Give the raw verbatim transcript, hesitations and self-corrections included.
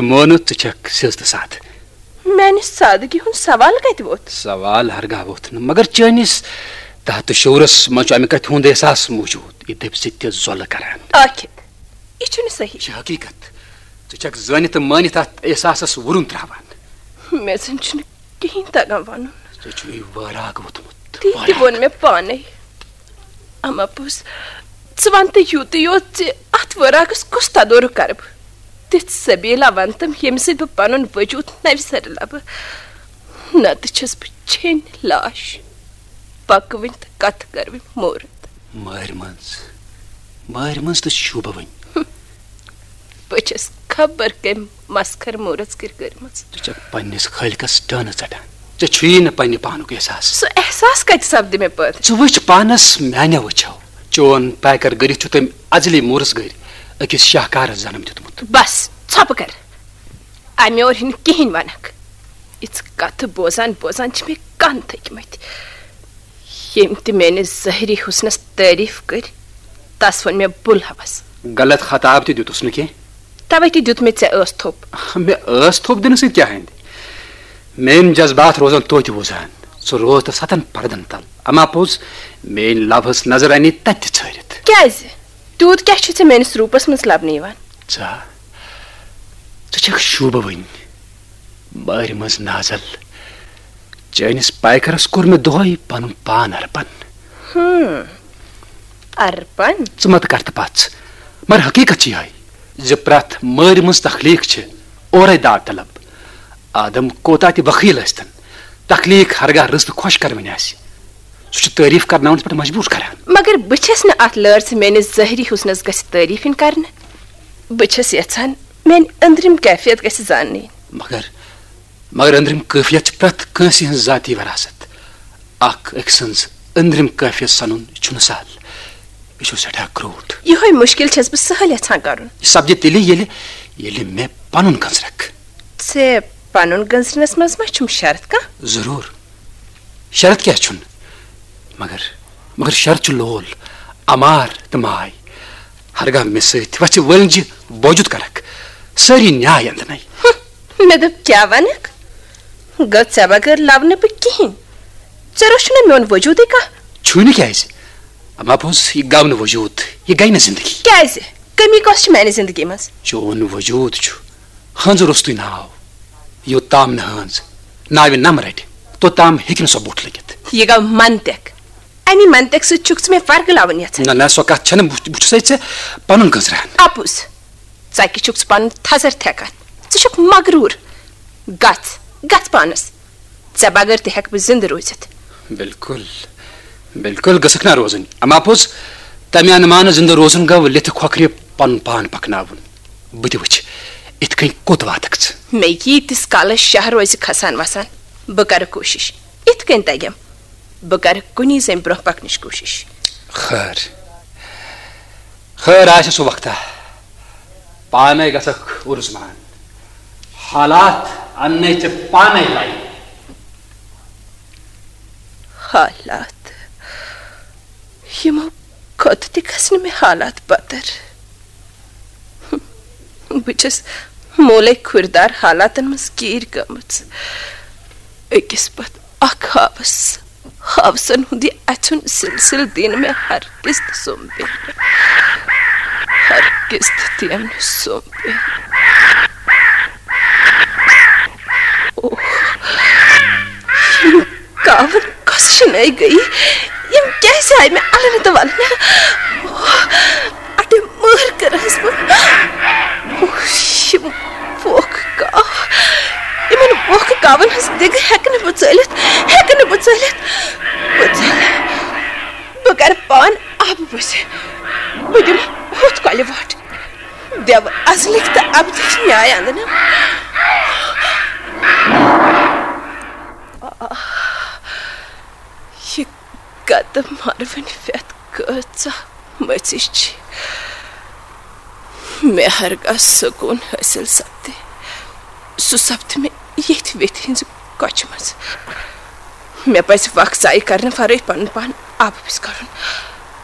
مونُتھ، ژٕ چھکھ سیٚز تہٕ سادٕ۔ میانہِ سادگی ہُنٛد سوال کتہِ ووٚتھ؟ سوال ہرگاہ ووٚتھ نہٕ، مگر چٲنِس تحت شعورس منٛز چھُ امہِ کتھِ ہُنٛد احساس موجود، یہِ دٔپۍ سۭتۍ تہِ زۄلہٕ کران۔ ٲکھِتھ، یہِ چھُنہٕ صحیح۔ یہِ چھِ حقیقت۔ ژٕ چھکھ زٲنِتھ تہٕ مٲنِتھ اتھ احساسس وُرُن تراوان۔ مےٚ زن چھُنہٕ کِہیٖنۍ تگان ونُن۔ ژےٚ چھُے وٲراگ ووٚتھمُت۔ تی تہِ وٲراگ۔ ووٚن مےٚ پانے۔ اما پوٚز، ژٕ ون تہٕ یوٗتٕے یوت زِ اتھ وٲراگس کُس تدورُک کرٕ بہٕ؟ تِژھ سبیلا ون تم، ییٚمہِ سۭتۍ بہٕ پنُن وجود نوِ سرٕ لبہٕ۔ نتہٕ چھس بہٕ چھیٚنۍ لاش۔ پکوٕنۍ تہٕ کتھ کرٕوٕنۍ مورت۔ مٲرۍ منٛز، مٲرۍ منٛز تہٕ شوٗبوٕنۍ۔ بہٕ چھس خبر کٔمۍ مسخر مورژ کِر کٔرمٕژ۔ ژٕ چھکھ پننِس خٲلقس ڈٲنہٕ ژٹان۔ ژےٚ چھُیی نہٕ پننہِ پانُک احساس۔ سُہ احساس کتہِ سپدِ مےٚ پٲدٕ؟ ژٕ وٕچھ پانس میانیو أچھو۔ چون پیکر گٔرِتھ چھُ تٔمۍ ازلی مورژ گٔرۍ أکِس شاہکارس جنم دیُتمُت۔ بس، ژھۄپہٕ کر۔ امہِ اور ہِنہٕ کِہیٖنۍ ونکھ۔ یِژھ کتھٕ بوزان بوزان چھِ مےٚ کن تھٔکۍ مٕتۍ۔ ییٚمۍ تہِ میٲنِس ظٲہری حُسنس تعریف کٔرۍ، تس ووٚن مےٚ بُل ہوس۔ غلط خطاب تہِ دیُتُس نہٕ کینٛہہ۔ توے تہِ دیُت مےٚ ژےٚ ٲس تھوٚپ۔ مےٚ ٲس تھوٚپ دِنہٕ سۭتۍ کیٛاہ اندِ؟ میٲنۍ جذبات روزن توتہِ وُزان۔ سُہ روز تہٕ ستن پردن تل۔ اما پوٚز، میٲنۍ لو ہٕنٛز نظر انے تتہِ تہِ ژھٲرِتھ۔ کیٛازِ؟ تیوٗت کیٛاہ چھُ ژےٚ میٲنِس روٗپس منٛز لبنہٕ یِوان؟ ژٕ ہا، ژٕ چھکھ شوٗبوٕنۍ۔ مٲرۍ منٛز نازل۔ چٲنِس پیکرس کوٚر مےٚ دۄہے پنُن پان ارپن۔ ہم، ارپن؟ ژٕ مت کر تہٕ پژھ، مگر حقیقت چھِ یِہے زِ پرٛٮ۪تھ مٲرۍ منٛز تخلیق چھِ اورے داد طلب۔ آدم کوتاہ تہِ بخیل ٲسۍتن، تخلیق ہرگاہ رٕژ تہٕ خۄش کرٕنۍ آسہِ، سُہ چھُ تعریف کرناونس پٮ۪ٹھ مجبوٗر کران۔ مگر بہٕ چھس نہٕ اتھ لٲر زِ میٲنِس ظٲہری حُسنس گژھِ تعریف یِنۍ کرنہٕ۔ بہٕ چھس یژھان میٲنۍ أنٛدرِم کیفیت گژھِ زاننہٕ یِنۍ۔ مگر، مگر أنٛدرِم کٲفیت چھِ پرٛٮ۪تھ کٲنٛسہِ ہٕنٛز ذٲتی وراثت۔ اکھ أکۍ سٕنٛز أنٛدرِم کٲفیت سنُن چھُنہٕ سہل۔ یہِ چھُ سٮ۪ٹھاہ کرٛوٗٹھ۔ یِہوٚے مُشکِل چھَس بہٕ سہل یژھان کرُن۔ یہِ سپدِ تیٚلہِ، ییٚلہِ، ییٚلہِ مےٚ پنُن گٔنٛزرکھ۔ ژےٚ پنُن گٔنٛزرنس منٛز ما چھُم شرط کانٛہہ؟ ضروٗر۔ شرط کیٛاہ چھُنہٕ؟ مگر، مگر شرط چھُ لول، امار تہٕ ماے۔ ہرگاہ مےٚ سۭتۍ وژھِ وٲلِنجہِ بوجُت کرکھ، سٲری نیاے اندنَے۔ ہُم، مےٚ دوٚپ، کیٛاہ ونکھ؟ گوٚو ژےٚ بغٲر لبہٕ نہٕ بہٕ کِہیٖنۍ۔ ژےٚ روٚچھُے نہٕ میون وجوٗدٕے کانٛہہ۔ چھُے نہٕ کیٛازِ؟ اما پوٚز، یہِ گوٚو نہٕ وجوٗد، یہِ گٔے نہٕ زندگی۔ کیٛازِ؟ کٔمی کۄس چھِ میانہِ زندگی منٛز؟ چون وجوٗد چھُ ہٲنزٕ روٚستُے ناو۔ یوٚت تام نہٕ ہٲنز ناوِ نم رٹہِ، توٚت تام ہیٚکہِ نہٕ سۄ بوٚٹھ لٔگِتھ۔ یہِ گوٚو منطق۔ امی منطق سۭتۍ چھُکھ ژٕ مےٚ ورگلاوُن یژھان؟ نہ، نہ، سۄ کتھ چھنہٕ۔ بہٕ، بہٕ چھُسے ژےٚ پنُن گٔنزراوان۔ اپُز، ژکہِ چھُکھ ژٕ پنُن تھزر تھٮ۪کان۔ ژٕ چھُکھ مغروٗر۔ گژھ، گژھ پانس۔ ژےٚ بغٲر تہِ ہٮ۪کہٕ بہٕ زِندٕ روٗزِتھ۔ بِلکُل، بِلکُل گٔژھٕکھ نا روزٕنۍ۔ اما پوٚز، تمہِ انمانہٕ زِندٕ روزُن گوٚو لِتھٕ کھۄکھرِ پنُن پان پکناوُن۔ بہٕ تہِ وٕچھِ، اِتھ کٔنۍ کوٚت واتکھ ژٕ۔ مےٚ ییٖتِس کالس شاہ روزِ کھسان وسان، بہٕ کرٕ کوٗشش۔ اِتھ کٔنۍ تگٮ۪م۔ بہٕ کرٕ کُنی زٔنۍ برونٛہہ پکنٕچ کوٗشش۔ خٲر، خٲر آسہِ سُہ وقتہ۔ پانے گژھکھ عرض مان۔ حالات اننے ژےٚ پانے لایہِ۔ حالات؟ یِمو کھۄتہٕ تہِ گژھِ نہٕ مےٚ حالات بدتر۔ بہٕ چھَس مولے کھُردار حالاتن منٛز گیٖر گٔمٕژ۔ أکِس پتہٕ اکھ ہاوس، ہاوسن ہُنٛد یہِ اَژھُن سلسلہٕ دِنہٕ مےٚ ہرگز تہِ سوٚمبِتھ۔ ہرگز تہِ دِیَم نہٕ سوٚمبِتھ۔ اوہ، یِم کاوَن کۄس شِنٲے گٔیہِ؟ یِم کیٛازِ آیہِ مےٚ اَلہٕ نہٕ تہٕ وَلہٕ نہٕ؟ اوہ، اَتہِ مٲر کٔرہَس بہٕ۔ اوہ، یِم ووکھٕ کاو، یِمَن ووکھٕ کاوَن ہٕنٛز دِگہٕ ہٮ۪کہٕ نہٕ بہٕ ژٲلِتھ، ہٮ۪کہٕ نہٕ بہٕ ژٲلِتھ۔ بہٕ ژَلہٕ۔ بہٕ کَرٕ پان آبہٕ بُزِ۔ بہٕ دِمہٕ ہُتھ کۄلہِ وۄٹھ۔ دٮ۪وٕ ازلِکۍ تہٕ ابدِکۍ نیاے اندنہٕ۔ آہ، یہِ گتہٕ مروٕنۍ پھٮ۪تھ کۭژاہ مٔژِج چھِ۔ مےٚ ہرگاہ سکوٗن حٲصِل سپدِ، سُہ سپدِ مےٚ ییٚتھۍ ویٚتھِ ہٕنٛزِ کۄچھِ منٛز۔ مےٚ پزِ وق ضایع کرنہٕ ورٲے پنُن پان آبہٕ پِس کرُن۔